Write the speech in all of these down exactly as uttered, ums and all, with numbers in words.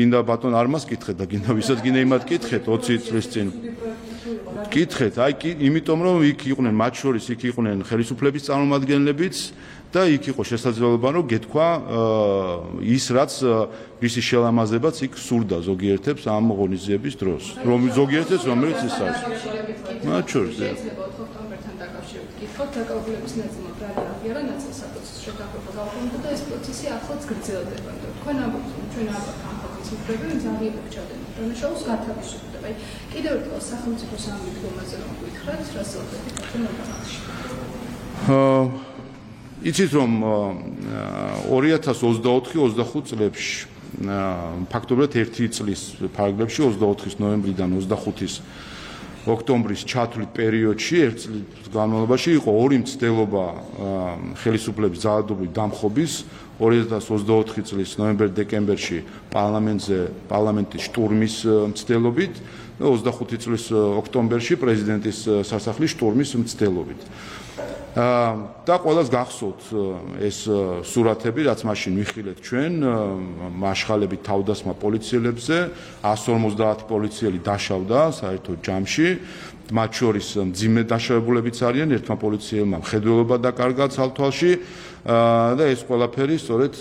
გინდა ბატონ არმას კითხეთ და გინდა ვისაც გინდა იმათ კითხეთ ოცი წლის წინ კითხეთ აი იმიტომ რომ იქ იყვნენ მათ შორის იქ იყვნენ ხელისუფლების წარმომადგენლებიც და იქ იყო შესაძლებლობა რომ გეთქვა ის რაც მისი შელამაზებაც იქ სურდა ზოგიერთებს ამ ღონისძიების დროს რომ ზოგიერთებს რომელიც ის არის მათ შორის გითხოთ დაკავებულების ნაწილმა ბრალი აღიარა ნაწილს საპროცესო შეთანხმება გაუქმდა და ეს პროცესი ახლაც გრძელდება. თქვენ ამბობთ, რომ ჩვენ ამ ხალხის მხრები ძალიან გჭირდება. დანაშაულს გათავისუფლდება. აი კიდევ ერთხელ სახელმწიფოს ამ მდგომაზე რომ გითხრათ, რა საუბარი თქვენ მომხდარში. აა იცით რომ ორი ათას ოცდაოთხი ოცდახუთ წლებში ფაქტობრივად ერთი წლის ფარგლებში ოცდაოთხის ნოემბრიდან ოცდახუთის ოქტომბრის ჩათვლით პერიოდში ერთ წლის განმავლობაში იყო ორი მცდელობა ხელისუფლების ძალადობრივი დამხობის ორი ათას ოცდაოთხი წლის ნოემბერ-დეკემბერში პარლამენტზე პარლამენტის შტურმის მცდელობით და ოცდახუთი წლის ოქტომბერში პრეზიდენტის სასახლის შტურმის მცდელობით. და ყველას გახსოვთ ეს სურათები, რაც მაშინ ვიხილეთ ჩვენ მაშხალებით თავდასხმა პოლიციელებზე, εκατს ორმოცდაათი პოლიციელი დაშავდა საერთო ჯამში, მათ შორის მძიმე დაშავებულებიც არიან, ერთმა პოლიციელმა მხედველობა დაკარგა ცალთვალში და ეს ყველაფერი სწორედ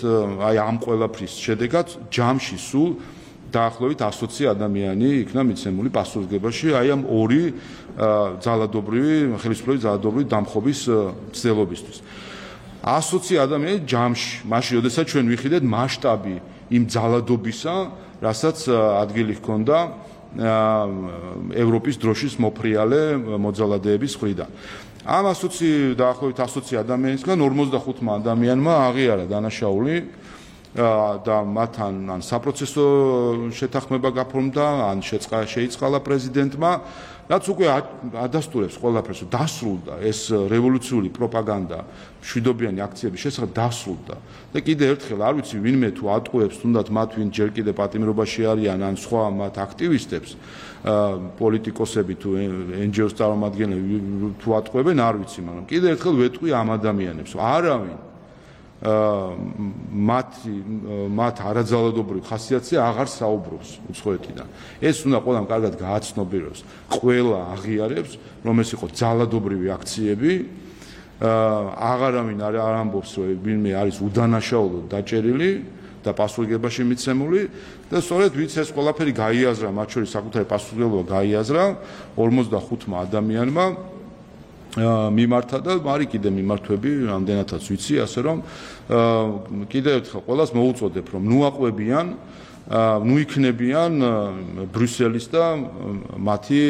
აი ამ ყველაფრის შედეგად ჯამში სულ დაახლოებით ასოცი ადამიანი იქნა მიცემული პასუხისმგებაში აი ამ ორი ძალადობრივი ხელისუფლების ძალადობრივი დამხობის მცდელობისთვის. ასოცი ადამიანი ჯამში, მაშინ როდესაც ჩვენ ვიხილეთ მასშტაბი იმ ძალადობისა, რასაც ადგილი ჰქონდა ევროპის დროშის მოფრიალე მოძალადეების მხრიდან. ამ ასოცი დაახლოებით ასოცი ადამიანისგან ორმოცდახუთმა ადამიანმა აღიარა დანაშაული და მათთან ან საპროცესო შეთანხმება გაფორმდა, ან შეიწყალა პრეზიდენტმა, რაც უკვე ადასტურებს ყველაფერს, რომ დასრულდა ეს რევოლუციური პროპაგანდა მშვიდობიანი აქციების შესახებ დასრულდა. და კიდევ ერთხელ არ ვიცი ვინმე თუ ატყუებს თუნდაც მათ ვინ ჯერ კიდევ პატიმრობაში არიან ან სხვა მათ აქტივისტებს, პოლიტიკოსები თუ εν ჯი ოს წარმომადგენლები თუ ატყუებენ არ ვიცი, მაგრამ კიდევ ერთხელ ვეტყვი ამ ადამიანებს, არავინ მათ მათ არაძალადობრივ ხასიათზე აღარ საუბრობს უცხოეთიდან. ეს უნდა ყველამ კარგად გააცნობიეროს. ყველა აღიარებს, რომ ეს იყო ძალადობრივი აქციები. აღარავინ არ ამბობს, რომ ვინმე არის უდანაშაულოდ დაჭერილი და პასუხისმგებაში მიცემული და სწორედ ვინც ეს ყველაფერი გაიაზრა, მათ შორის საკუთარი პასუხისმგებლობა გაიაზრა ორმოცდახუთმა ადამიანმა მიმართა და მარი კიდე მიმართვები რამდენადაც ვიცი, ასე რომ კიდევ ერთხელ ყველას მოუწოდებ, რომ ნუ აყვებიან, ნუ იქნებიან ბრიუსელის და მათი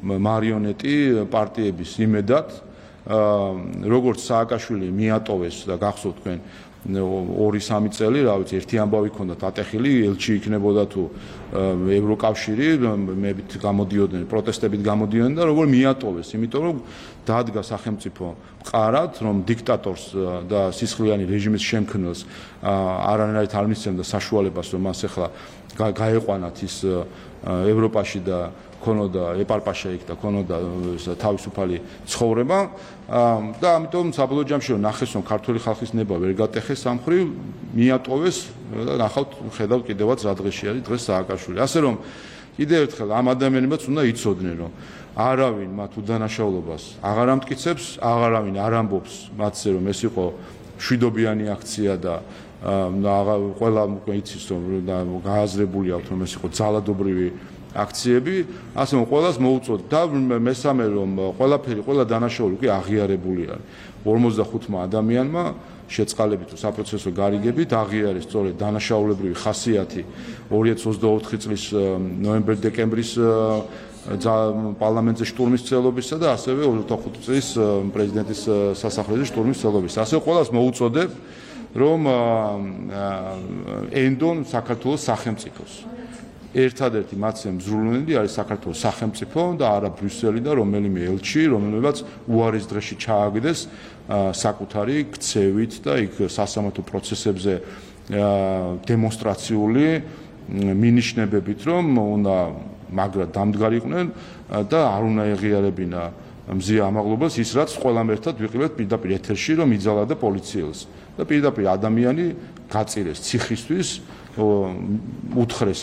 მარიონეტი პარტიების იმედად, როგორც სააკაშვილი მიატოვეს და გახსოვთ თქვენ ორი სამი წელი, რა ვიცი, ერთი ამბავი ჰქონდათ ატეხილი, ელჩი იქნებოდა თუ ევროკავშირი, მებით გამოდიოდნენ, პროტესტებით გამოდიოდნენ და როგორ მიატოვეს, იმიტომ რომ დადგა სახელმწიფო მყარად, რომ დიქტატორს და სისხლიანი რეჟიმის შემქმნელს არანაირად არ მისცემდა საშუალებას, რომ მას ახლა გაეყვანათ ის ევროპაში და ქონოდა ეპარპაშა იქ და ქონოდა თავისუფალი ცხოვრება და ამიტომ საბოლოო ჯამში რომ ნახეს რომ ქართული ხალხის ნება ვერ გატეხეს სამხრივ მიატოვეს და ნახავთ ხედავთ კიდევაც რა დღეში არის დღეს სააკაშვილი. ასე რომ კიდევ ერთხელ ამ ადამიანებიც უნდა იცოდნენ რომ არავინ მათ უდანაშაულობას აღარ ამტკიცებს, აღარავინ არ ამბობს მათზე რომ ეს იყო მშვიდობიანი აქცია და ყველა იცის რომ გააზრებული აქვს რომ ეს იყო ძალადობრივი აქციები, ასე რომ ყველას მოუწოდ და მესამე რომ ყველაფერი ყველა დანაშაული უკვე აღიარებული არის. ორმოცდახუთმა ადამიანმა შეწყალებით თუ საპროცესო გარიგებით აღიარეს სწორედ დანაშაულებრივი ხასიათი ორი ათას ოცდაოთხი წლის ნოემბერ-დეკემბრის პარლამენტზე შტურმის მცდელობისა და ასევე ოცდახუთი წლის პრეზიდენტის სასახლეზე შტურმის მცდელობისა. ასე ყველას მოუწოდებ რომ ენდონ საქართველოს სახელმწიფოს. ერთადერთი მათზე მზრულუნელი არის საქართველოს სახელმწიფო და არა ბრიუსელი და რომელიმე ელჩი, რომელმაც უარის დღეში ჩააგდეს საკუთარი ქცევით და იქ სასამართლო პროცესებზე დემონსტრაციული მინიშნებებით, რომ უნდა მაგრად დამდგარიყვნენ და არ უნდა ეღიარებინა მზია ამაღლობას ის რაც ყველამ ერთად ვიყილებთ პირდაპირ ეთერში, რომ იძალა და პოლიციელს და პირდაპირ ადამიანი გაწირეს ციხისთვის უთხრეს